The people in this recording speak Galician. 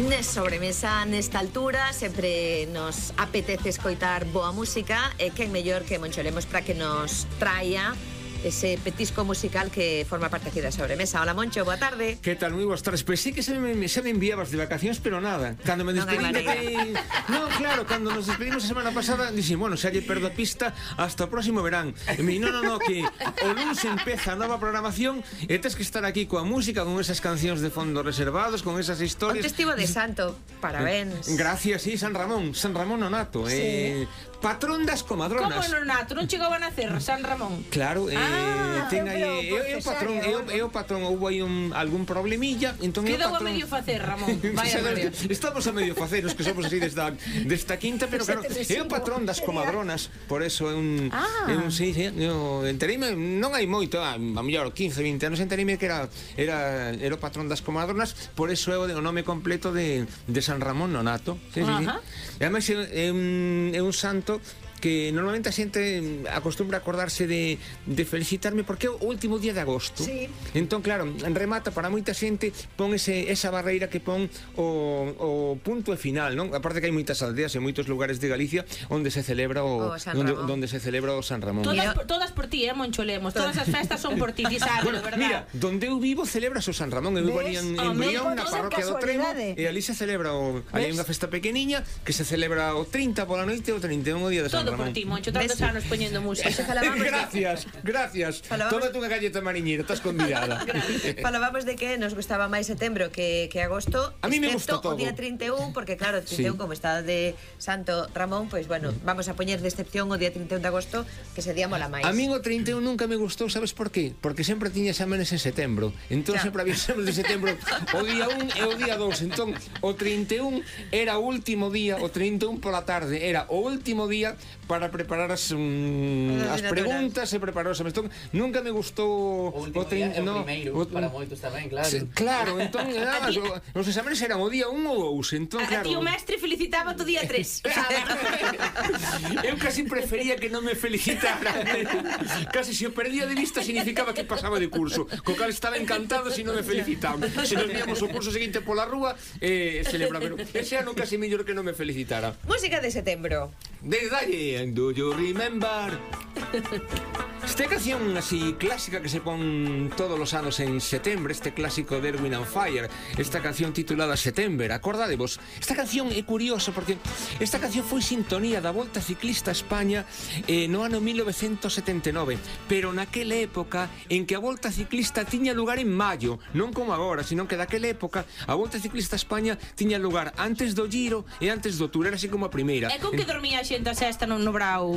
Nes sobremesa nesta altura sempre nos apetece escoitar boa música e quen mellor que Moncho Lemos para que nos traia ese petisco musical que forma parte aquí da sobremesa. Hola Moncho, boa tarde. Que tal, moi boas tardes. Pois sí que se me enviabas de vacacións, pero nada. Cando me despedín no, claro, cando nos despedimos a semana pasada dixen, bueno, xa lle perdo a pista hasta o próximo verán. E me no, que o lunes empeza a nova programación e tes que estar aquí coa música, con esas cancións de fondo reservados, con esas historias. Un testigo de santo, parabéns. Gracias, sí, San Ramón Nonato. Sí. Patrón das comadronas. Como Nonato? Non chegou a nacer San Ramón? Claro, ten aí o patrón houve aí algún problemilla, entón quedou a medio facer, Ramón. Vaya María. Estamos a medio facer, os que somos así desta quinta, pero claro, é o patrón das comadronas, por eso é un sí, entereime, non hai moito, a mellor 15, 20 anos entereime que era o patrón das comadronas, por eso é o nome completo de San Ramón Nonato. Sí. E ademais é un santo que normalmente a xente acostumbra acordarse de felicitarme porque é o último día de agosto. Sí. Entón, claro, remata para moita xente, pon esa barreira que pon o punto e final, non? Aparte que hai moitas aldeas e moitos lugares de Galicia onde se celebra onde se celebra o San Ramón. Todas por ti, Moncho Lemos. Todas as festas son por ti, ti sabes, bueno, verdad? Mira, donde eu vivo celebras o San Ramón. Eu vivo en Brión, na parroquia do Tremo, e ali se celebra hai unha festa pequeniña que se celebra o 30 pola noite e o 31 o día de San Ramón. Todo por ti, Moncho, tantos anos poñendo música. Gracias. Tómate unha galleta mariñera, estás convidada. Falábamos de que nos gustaba máis setembro que agosto. A mí me gusta todo. O día 31, porque claro, 31 como está de Santo Ramón, pois bueno, vamos a poñer de excepción o día 31 de agosto, que ese día mola máis. A mí o 31 nunca me gustou, sabes por qué? Porque sempre tiña exámenes en setembro. Entón sempre había exámenes de setembro o día 1 e o día 2. Entón o 31 era o último día, o 31 pola tarde era o último día para preparar as preguntas e preparar os exames. Entón, nunca me gustou o primeiro para moitos tamén, claro. Claro, entón, os exames eran o día 1 ou 2, entón, claro. A ti o mestre felicitaba o día 3. Eu casi prefería que non me felicitara. Casi se o perdía de vista significaba que pasaba de curso, co cal estaba encantado se non me felicitaban. Se nos víamos o curso seguinte pola rúa, celebraba. Ese ano casi mellor que non me felicitara. Música de setembro. Dalle, do you remember? Esta canción así clásica que se pon todos os anos en setembro, este clásico de Erwin and Fire, esta canción titulada September, acordadevos. Esta canción é curiosa porque esta canción foi sintonía da Volta Ciclista a España no ano 1979, pero naquela época en que a Volta Ciclista tiña lugar en maio, non como agora, sino que daquela época a Volta Ciclista a España tiña lugar antes do Giro e antes do Tour, era así como a primeira. É con que dormía a xente a sexta no brao.